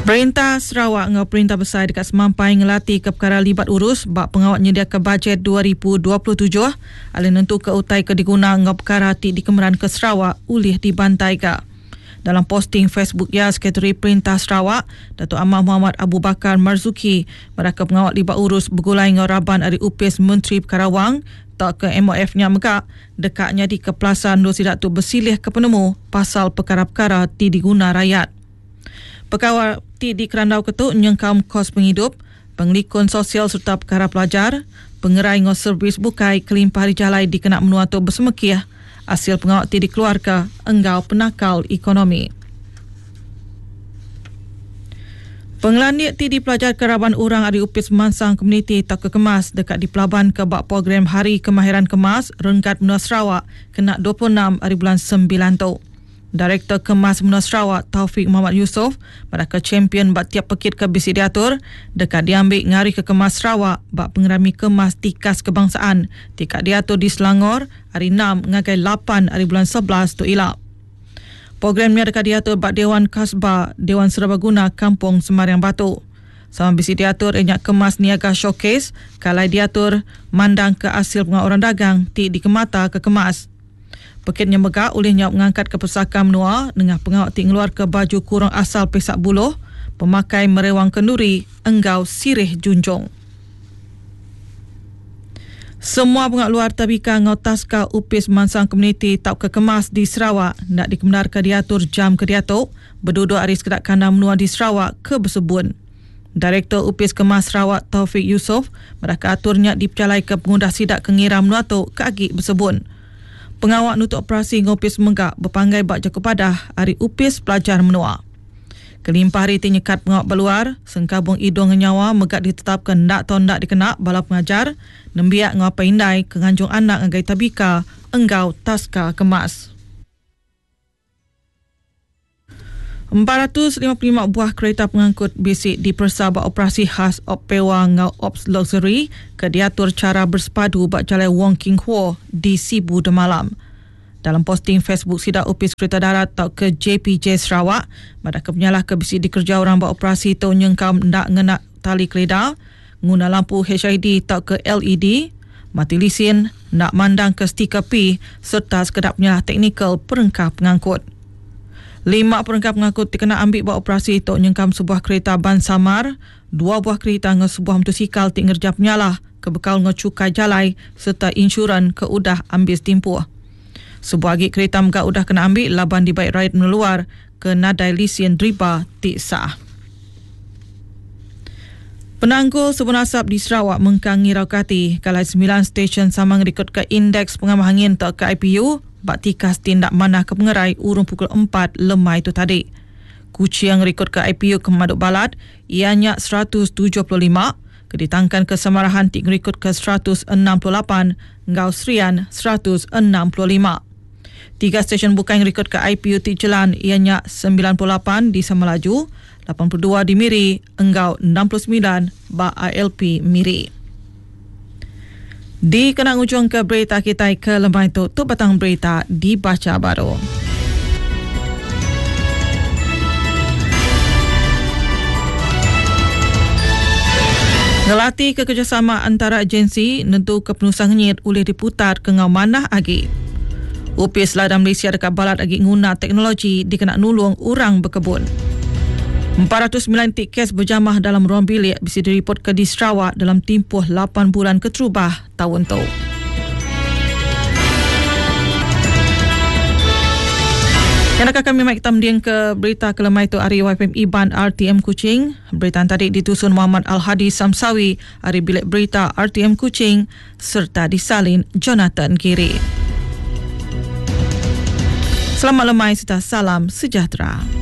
Perintah Sarawak enggau Perintah Besai deka semampai ngelatika pekara libat urus ba pengawa nyediaka bajet 2027 alai nentuka utai ke diguna enggau pekara ti dikemeranka Sarawak ulih dibantaika. Dalam posting Facebook iya, Sekretari Perintah Sarawak, Datuk Amar Mohamad Abu Bakar Marzuki madahka pengawa libat urus begulai enggau raban ari Opis Menteri Pekara Wang tauka MOF nya mega deka nyadika pelasar endur sida tu besilihka penemu pasal pekara-pekara ti diguna rayat. Pekara ti dikerandauka tu nyengkaum kos pengidup, pengelikun sosial sereta pekara pelajar, pengerai enggau servis bukai kelimpah ari jalai dikena menua tu besemekih asil pengawa ti dikeluarka enggau penakal ekonomi. Pengelandik ti dipelajarka raban orang ari Opis Pemansang Komuniti tauka Kemas deka dipelabanka ba Program Hari Kemahiran Kemas Renggat Menua Sarawak kena 26 ari bulan Sembilan tu. Direktor Kemas Menua Sarawak Taufik Mohamad Yusof madahka champion ba tiap pekit ke bisi diatur deka diambi ngarika Kemas Sarawak ba Pengerami Kemas Tikas Kebangsaan ti ka diatur di Selangor ari enam ngagai lapan ari bulan 11 tu ila. Program nya deka diatur ba Dewan Kasba, Dewan Serbaguna Kampung Semariang Batu. Sama bisi diatur iya nya Kemas Niaga Showcase ke alai diatur mandangka asil pengawa orang dagang ti dikemata ke kemas. Pekit nya mega ulih nyaup ngangkatka pesaka menua nengah pengawa ti ngeluarka baju kurung asal Pesak Buluh, pemakai merewang kenduri enggau sirih junjung. Semua pengawa luar tabika enggau taska Opis Pemansang Komuniti tauka Kemas di Sarawak enda dikemendarka diatur jam ke diatu beduduk ari sekeda kandang menua di Sarawak ke besebun. Direktor Opis Kemas Sarawak Taufik Yusof madahka atur nya dipejalaika pengudah sida ke ngira menua tu ke agi besebun. Pengawa nutup operasi enggau opis mega bepanggai ba jaku padah ari Opis Pelajar Menua. Kelimpah ari ti nyekat pengawa ba luar, sengkabung idung enggau nyawa mega ditetapka enda tau enda dikena bala pengajar, nembiak enggau apai indai ke nganjung anak ngagai tabika enggau taska kemas. 455 buah kerita pengangkut bisi diperesa ba operasi khas Op Pewa enggau Ops Luxury ke diatur chara bersepadu ba Jalai Wong King Huo di Sibu demalam. Dalam posting Facebook sida Opis Kerita Darat tauka JPJ Sarawak madahka penyalah ke bisi dikereja orang ba operasi tu nyengkaum enda ngena tali kelida, nguna lampu HID tauka LED, mati lisin, enda mandangka stiker P sereta sekeda penyalah teknikal perengka pengangkut. Lima perengka pengangkut ti kena ambi ba operasi tu nyengkaum sebuah kerita ban samar, dua buah kerita enggau sebuah mutosikal ti ngereja penyalah ke bekaul enggau chukai jalai sereta insuran ke udah ambis timpuh. Sebuah agi kerita mega udah kena ambi laban dibai rayat menua luar ke nadai lisin deriba ti sah. Penanggul sebun asap di Sarawak mengkang ngirauka ati ke alai semilan stesyen sama ngerikodka Indeks Pengamah Angin tauka IPU ba tikas ti enda manah ke pengerai urung pukul empat lemai tu tadi. Kuching ngerikodka IPU ke pemadu balat iya nya 175 ke ditangkanka Samarahan ti ngerikodka 168 enggau Serian 165. Tiga stesyen bukai ngerikodka IPU ti jelan iya nya 98 di Samalaju, 82 di Miri enggau 69 ba ILP Miri. Dikena ngujungka berita kitai ke lemai tu, tu batang berita dibacha baru. Ngelati ke kerjasama antara agensi nentuka penusah ngenyit ulih diputar ke enggau manah agi. Opis Ladang Malaysia deka balat agi nguna teknologi dikena nulung orang bekebun. 409 ti kes bejamah dalam ruang bilik bisi diripotka di Sarawak dalam timpuh lapan bulan keterubah taun tu. Nyadaka kami mai kita mending ke berita ke lemai tu ari YFM Iban RTM Kuching. Berita tadi ditusun Muhammad Al-Hadi Samsawi ari Bilik Berita RTM Kuching sereta disalin Jonathan Giri. Selamat lemai sereta salam sejahtera.